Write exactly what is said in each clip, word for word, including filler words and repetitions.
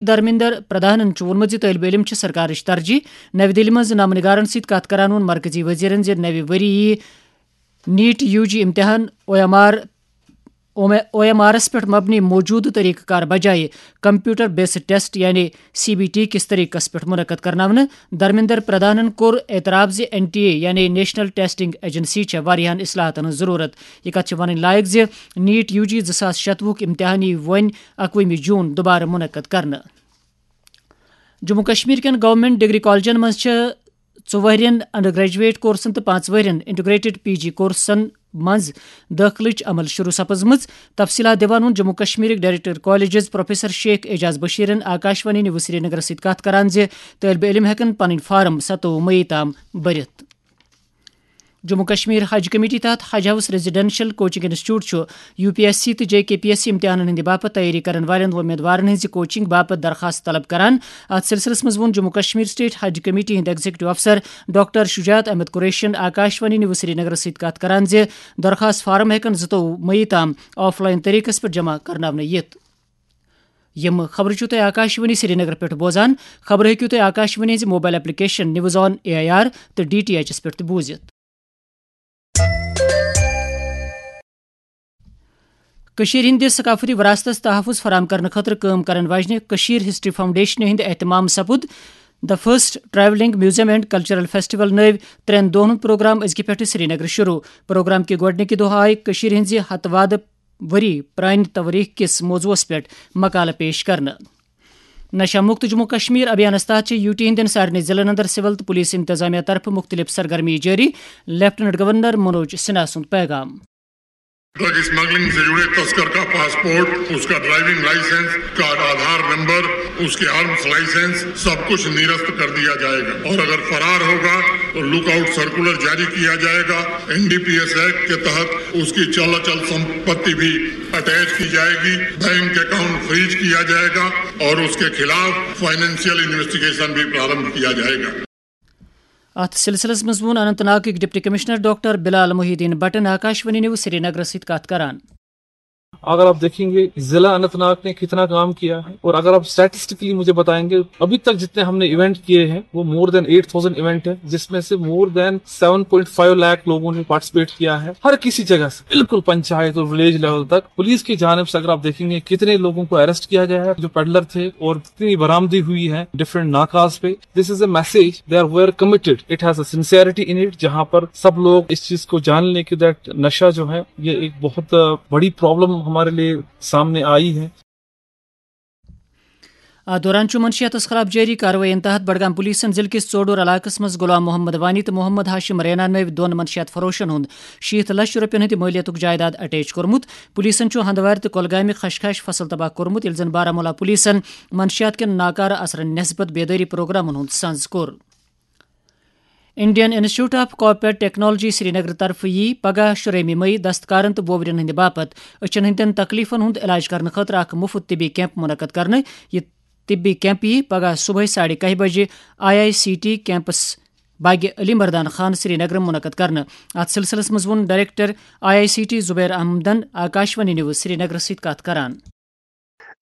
دھرمیندر پردھانن چھُ ووٚنمُت زِ طٲلبہِ علم چھِ سرکارٕچ ترجیح۔ نَوِ دِلہِ منٛز نامہٕ نِگارن سۭتۍ کتھ کران ووٚن مرکزی وزیرن زِ نَوِ ؤری یِیہِ نیٹ یوٗ جی امتحان O M R, O M آرس پٮ۪ٹھ مبنی موجودٕ طریقہٕ کار بجایہِ کمپیوٹر بیسڈ ٹیسٹ یعنی سی بی ٹی کِس طریقس پٮ۪ٹھ منعقد کرناونہٕ۔ دھرمیندر پردھانن کوٚر اعتراف زِ این ٹی اے یعنی نیشنل ٹیسٹنگ ایجنسی چھےٚ واریاہن اصلاحاتن ہٕنٛز ضروٗرت۔ یہِ کتھ چھِ ونٕنۍ لایق زِ نیٹ یوٗ جی زٕ ساس شتوُہُک امتحان یی وۄنۍ اَکوُہمہِ جوٗن دُبارٕ منعقد کرنہٕ۔ جموں کشمیر کٮ۪ن گورنمنٹ ڈگری کالجن منٛز چھِ ژۄن ؤرین انڈر گریجویٹ کورسن تہٕ پانٛژھ ؤرین انٹیگریٹڈ پی جی کورسن منٛز دٲخلٕچ عمل شروع سپٕزمٕژ۔ تفصیلات دِوان ووٚن جموں کشمیرٕکۍ director colleges professor Sheikh Ejaz بشیرن آکاشوانی نیوز سرینگرس سۭتۍ کتھ کران زِ طٲلبہِ علم ہٮ۪کن پنٕنۍ فارم ستووُہ مئی تام بٔرِتھ۔ جموں کشمیر حج کمیٹی تحت حج ہاؤس ریزیڈنشل کوچنگ انسٹیٹیوٹ چھُ یو پی ایس سی تہٕ جے کے پی ایس سی امتحانن ہٕنٛدِ باپتھ تیٲری کرن والٮ۪ن وۄمیدوارن ہٕنٛزِ کوچنگ باپتھ درخاست طلب کران۔ اتھ سلسلس منٛز ووٚن جموں کشمیر اسٹیٹ حج کمیٹی ہٕنٛدۍ ایگزیکٹو افسر ڈاکٹر شجاعت احمد قریشین آکاشوانی نیوز سرینگرس سۭتۍ کتھ کران زِ درخاست فارم ہٮ۪کن زٕتووُہ مئی تام آف لائن طریقس پٮ۪ٹھ جمع کرناونہٕ یِتھ۔ یِم خبرٕ چھِو تُہۍ آکاشوانی سرینگر پٮ۪ٹھ بوزان۔ خبرٕ ہیٚکِو تُہۍ آکاشوانی ہٕنٛزِ mobile application news on A I R تہٕ ڈی ٹی ایچ پٮ۪ٹھ تہِ بوٗزِتھ۔ کٔشیٖرِ ہٕنٛدِ ثقافتی وراثتس تحفظ فراہم کرنہٕ خٲطرٕ کٲم کرن واجنہِ کٔشیٖر ہسٹری فاؤنڈیشنہِ ہٕنٛدِ اہتمام سپُد The First Travelling Museum and Cultural Festival نٲوۍ ترٛٮ۪ن دۄہن ہُنٛد پروگرام أزکہِ پٮ۪ٹھٕ سرینگرٕ شروع۔ پروگرام کہِ گۄڈٕنِکہِ دۄہ آیہِ کٔشیٖرِ ہٕنٛزِ ہتہٕ وادٕ ؤری پرٛانہِ توٲریٖخ کِس موضوعس پٮ۪ٹھ مقالہٕ پیش کرنہٕ۔ نشہ مکت جموں کشمیر ابھیانس تحت چھِ یوٗ ٹی ہٕنٛدٮ۪ن سارنٕے ضلعن اندر سول تہٕ پولیس انتظامیہ طرفہٕ مُختٔلِف سرگرمی جٲری۔ لیفٹیننٹ گورنر منوج سنہا سُنٛد پیغام۔ ڈرگ اسمگلنگ سے جڑے تسکر کا پاسپورٹ، اس کا ڈرائیونگ لائسنس، اس کا آدھار نمبر، اس کے آرمز لائسنس، سب کچھ نرست کر دیا جائے گا اور اگر فرار ہوگا تو لک آؤٹ سرکولر جاری کیا جائے گا۔ N D P S act کے تحت اس کی چل اچل سمپتی بھی اٹیچ کی جائے گی، بینک اکاؤنٹ فریز کیا جائے گا اور اس کے خلاف فائنینشیل انویسٹیگیشن بھی پرارمبھ کیا جائے گا۔ اتھ سلسلس منٛز ووٚن اننت ناگٕکۍ ڈپٹی کمشنر ڈاکٹر بلال محی الدین بٹن آکاشوانی نیوز سرینگرس سۭتۍ کتھ کران۔ اگر آپ دیکھیں گے ضلع اننت ناگ نے کتنا کام کیا ہے اور اگر آپ اسٹیٹسٹکلی مجھے بتائیں گے، ابھی تک جتنے ہم نے ایونٹ کیے ہیں وہ مور دین ایٹ تھاؤزینڈ ایونٹ ہے، جس میں سے مور دین سیون پوائنٹ فائیو لاکھ لوگوں نے پارٹیسپیٹ کیا ہے ہر کسی جگہ سے، بالکل پنچایت اور ولیج لیول تک۔ پولیس کی جانب سے اگر آپ دیکھیں گے کتنے لوگوں کو اریسٹ کیا گیا ہے جو پیڈلر تھے اور کتنی برآمدی ہوئی ہے ڈفرنٹ ناکاز پہ۔ This is a message they are were committed. It has a sincerity in it. جہاں پر سب لوگ اس چیز کو جان لیں کہ دیٹ نشہ جو ہے یہ ایک بہت بڑی پرابلم ہمارے لیے سامنے آئی ہے۔ اتھ دوران چھُ منشیاتس خلاف جٲری کاروٲیین تحت بڈگام پولیسن ضلعہٕ کِس ژوڈور علاقس منٛز غلام محمد وانی تہٕ محمد ہاشم رینا نٲوۍ دۄن منشیات فروشن ہُنٛد شیٖتھ لچھ رۄپین ہٕنٛدِ مٲلیتُک جائیداد اٹیچ کوٚرمُت۔ پولیسن چھُ ہندوارِ تہٕ کۄلگامہِ خشخاش فصل تباہ کوٚرمُت، ییٚلہِ زن بارہمولہ پولیسن منشیات کٮ۪ن ناکارٕ اثرن نسبت بیدٲری پروگرامن ہُنٛد سنز کوٚر۔ Indian institute of corporate technology Srinagar طرفہٕ یی پگاہ شُرٲہمہِ مئی دستکارن تہٕ ووورین ہٕنٛدِ باپتھ أچھن ہٕنٛدٮ۪ن تکلیفن ہُنٛد علاج کرنہٕ خٲطرٕ اکھ مُفت طبی کیمپ منعقد کرنہٕ۔ یہِ طبی کیمپ یی پگاہ صبحٲے ساڑِ کاہہِ بجہِ I I C T campus Bagh Ali Mardan Khan Srinagar منعقد کرنہٕ۔ اتھ سلسلس منٛز ووٚن director I I C T Zubair احمدن آکاشوانی نیوز سرینگرس سۭتۍ کتھ کران۔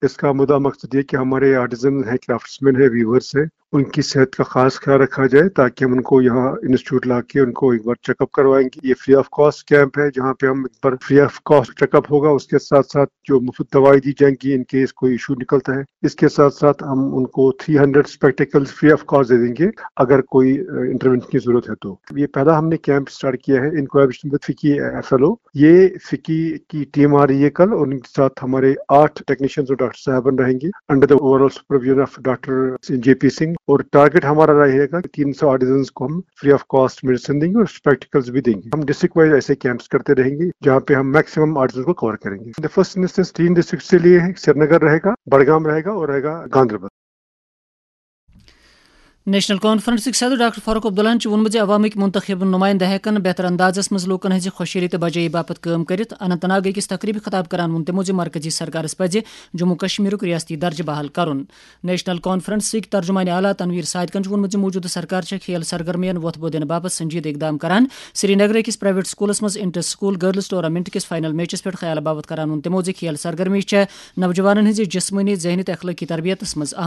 اس کا مدعا مقصد یہ کہ ہمارے آرٹیزن ہیں، کرافٹس مین ہیں، ویورز ہیں، ان کی صحت کا خاص خیال رکھا جائے تاکہ ہم ان کو یہاں انسٹیٹیوٹ لا کے ان کو ایک بار چیک اپ کروائیں گے۔ یہ فری آف کاسٹ کیمپ ہے جہاں پہ ہم ایک بار free of cost check up ہوگا، اس کے ساتھ ساتھ جو مفت دوائی دی جائیں گی ان کیس کوئی ایشو نکلتا ہے۔ اس کے ساتھ ساتھ ہم ان کو three hundred spectacles free of cost دے دیں گے اگر کوئی انٹروینشن کی ضرورت ہے تو۔ یہ پہلا ہم نے کیمپ اسٹارٹ کیا ہے in collaboration with FICCI F L O. یہ فکی کی ٹیم آ رہی ہے کل، اور ان کے ساتھ ہمارے آٹھ ٹیکنیشینز اور ڈاکٹر صاحبان رہیں گے under the over all supervision of doctor J P Singh, اور ٹارگیٹ ہمارا رہے گا کہ تین سو آرٹیزنز کو ہم فری آف کاسٹ میڈیسن دیں گے اور اسپیکٹیکلز بھی دیں گے۔ ہم ڈسٹرکٹ وائز ایسے کیمپس کرتے رہیں گے جہاں پہ ہم میکسیمم آرٹیزنز کو کور کریں گے۔ دا فرسٹ انسٹنس تین ڈسٹرکٹ کے لیے ہے، سرینگر رہے گا، بڑگام رہے گا اور رہے گا گاندربل۔ نیشنل کانفرنسٕکۍ صدر ڈاکٹر فاروق عبداللہن چھُ ووٚنمُت زِ عوامٕکۍ منتخب نُمٲیندٕ ہٮ۪کَن بہتر اندازَس منٛز لوٗکَن ہٕنٛزِ خۄشحٲلی تہٕ بجٲیی باپتھ کٲم کٔرِتھ۔ اننت ناگ أکِس تقریٖبہِ خطاب کران ووٚن تِمو زِ مرکزی سرکارَس پَزِ جموں کشمیرُک ریاستی درجہٕ بحال کرُن۔ نیشنل کانفرنسٕکۍ ترجمان اعلیٰ تنویر صادقن چھُ ووٚنمُت زِ موٗجوٗدٕ سرکار چھےٚ کھیل سرگرمیَن وۄتھ بوٚو دِنہٕ باپتھ سنجیدٕ اقدام کران۔ سرینگرٕ أکِس پرائیویٹ سکولَس منٛز انٹر سکول گرلز ٹورنامنٹ کِس فائنل میچَس پٮ۪ٹھ خیال باپتھ کران ووٚن تِمو زِ کھیل سرگرمی چھےٚ نوجوانَن ہٕنٛزِ جسمٲنی، ذہنی تہٕ اخلٲقی تربیتَس منٛز اہم